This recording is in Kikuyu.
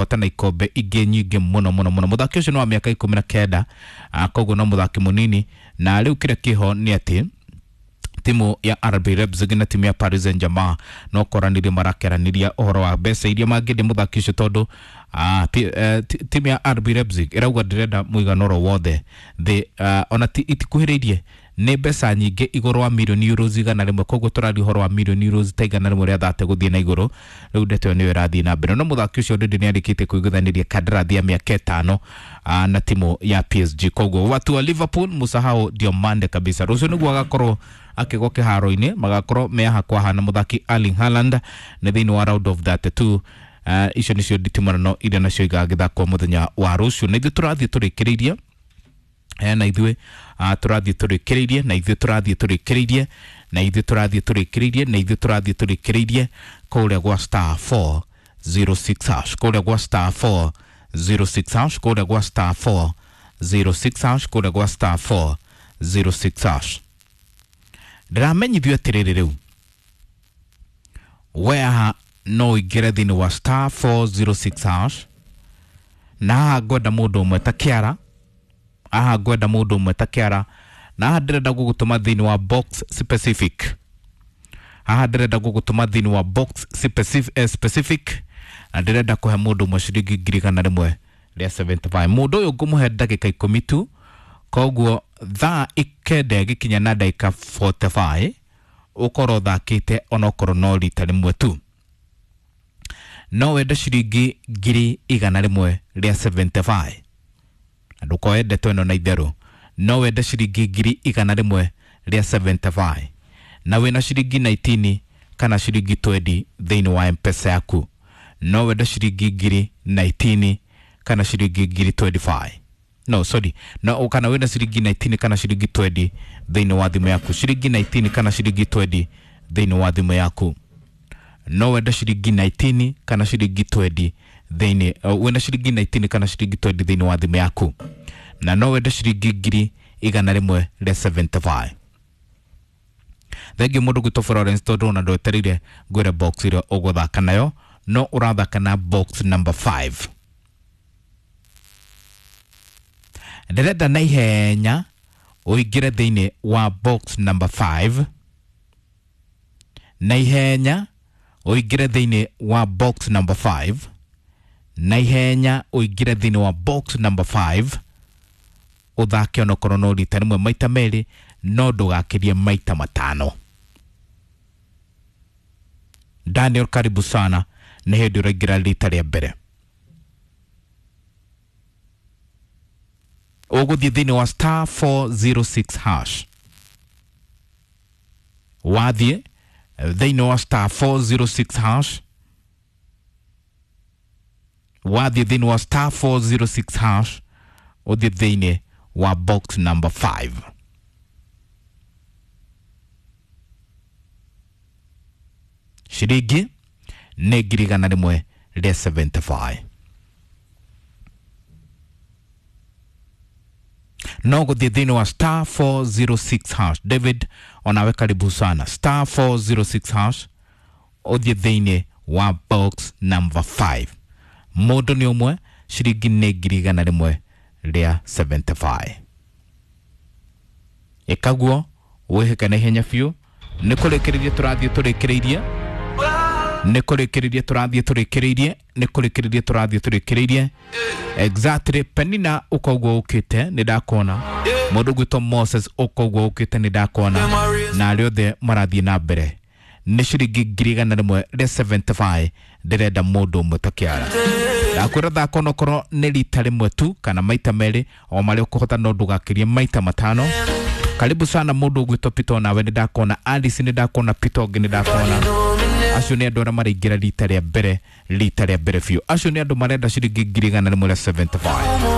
Kũhotana ikombe ingĩ nyingĩ mũno mũno mũno. Mũthaki ũcio nĩ wa mĩaka 19, koguo no mũthaki mũnini. Na rĩu kĩrĩa kĩho nĩ atĩ timu ya RB Leipzig na timu ya Paris Saint-Germain no koranire marakeranĩria ũhoro wa mbeca iria mangĩendia mũthaki ũcio, tondũ timu ya RB Leipzig ĩrauga ndĩrenda mũigana oro wothe thĩ, ona itikuhĩrĩirie, nĩ mbeca nyingĩ igũrũ wa mirioni euros 100. Koguo tũraria ũhoro wa mirioni euros ta 130 gũthiĩ na igũrũ. Rĩu ndeto ĩyo nĩyo ĩrathiĩ na mbere, no mũthaki ũcio already nĩ arĩkĩtie kũiguithanĩria kandarathi ya mĩaka 5 na timu ya PSG. Koguo watu wa Liverpool, musahau Diomande kabisa. Rũciũ nĩguo agakorwo akĩgwa kĩharo-inĩ, magakorwo me haha kwa haha na mũthaki Erling Haaland nĩ thĩinĩ wa round of 32. Icio nĩcio nditimũrano iria nacio igagĩthakwo mũthenya wa rũciũ. Na ithuĩ tũrathiĩ tũrĩkĩrĩirie, na ithuĩ tũrathiĩ tũrĩkĩrĩirie, na ithuĩ tũrathiĩ tũrĩkĩrĩirie, na ithuĩ tũrathiĩ tũrĩkĩrĩirie, na ithuĩ tũrathiĩ tũrĩkĩrĩirie kũrĩa gwa star 406 hash, kũrĩa gwa star 406 hash, kũrĩa gwa star 406 hash, kũrĩa gwa star 406 hash. Ndĩramenyithio atĩrĩrĩ, rĩu we haha no ũingĩre thĩinĩ wa star 406 hash, na haha ngwenda mũndũ ũmwe ta kĩara, haha ngwenda mũndũ ũmwe ta kĩara, na haha ndĩrenda gũgũtũma thĩinĩ wa box specific, haha ndĩrenda gũgũtũma thĩinĩ wa box specific, specific, na ndĩrenda kũhe mũndũ ũmwe ciringi 175,000. Mũndũ ũyũ ngũmũhe ndagĩka 10 tu, koguo thaa 9 ĩgĩkinya na ndagĩka 45 ũkorwo ũthakĩte onokorwo no rita rĩmwe tu. No wende ciringi 175,000, na ndũkoe ndeto ĩno na itherũ. No wende ciringi 175,000 na wĩna ciringi 19 kana ciringi 20 thĩinĩ wa Mpesa yaku. No wende ciringi 19,000 kana ciringi 25,000, no sorry, no kana wĩna ciringi 19 kana ciringi 20 thĩinĩ wa thimũ yaku, ciringi 19 kana ciringi 20 thĩinĩ wa thimũ yaku. No wende ciringi 19 kana ciringi 20 thĩinĩ, wĩna ciringi 19 kana ciringi 20 thĩinĩ wa thimũ yaku, na no wende ciringi 175,000. Thengiũ mũndũ gwĩtwo Florence, tondũ ona ndwetereire ngwĩre box ĩrĩa ũgũthaka nayo, no ũrathaka na box number 5. Ndĩrenda na ihenya ũingĩre thĩinĩ wa box number 5, na ihenya ũingĩre thĩinĩ wa box number 5, na ihenya ũingĩre thĩinĩ wa box number 5, ũthake onokorwo no rita rĩmwe, maita merĩ, no ndũgakĩrie maita matano. Daniel, karibu sana, nĩ hĩndĩ ũraingĩra rita rĩa mbere. Ũgũthiĩ thĩinĩ wa star 406 hash. Wathiĩ thĩinĩ wa star 406 hash, wathiĩ thĩinĩ wa star 406 hash, ũthiĩ thĩinĩ wa box number 5. Ciringi nĩ 175,000. No gũthiĩ thĩinĩ wa star 406 hash. David, onawe karibu sana. Star 406 hash, ũthiĩ thĩinĩ wa box number 5. Mũndũ nĩ ũmwe, ciringi nĩ 175,000. Ĩkaguo wĩhĩke na ihenya biũ. Nĩ kũrĩkĩrĩria tũrathiĩ tũrĩkĩrĩirie, nĩ kũrĩkĩrĩria tũrathiĩ tũrĩkĩrĩirie, nĩ kũrĩkĩrĩria tũrathiĩ tũrĩkĩrĩirie. Exactly. Penina, ũkoguo ũkĩte nĩ ndakuona. Mũndũ gwĩtwo Moses, ũkoguo ũkĩte nĩ ndakuona, na arĩa othe marathiĩ na mbere, nĩ ciringi 175,000 ndĩrenda mũndũ ũmwe ta kĩara. Ndakwĩra thaka onokorwo nĩ rita rĩmwe tu kana maita merĩ, o marĩa ũkũhota, no ndũgakĩrie maita matano. Karibu sana mũndũ ũgwĩtwo Pito, nawe nĩ ndakuona. Alice nĩ ndakuona, Pito ũngĩ nĩ ndakuona. Acio nĩ andũ arĩa maraingĩra rita rĩa mbere, rita rĩa mbere biũ. Acio nĩ andũ marenda ciringi 175,000.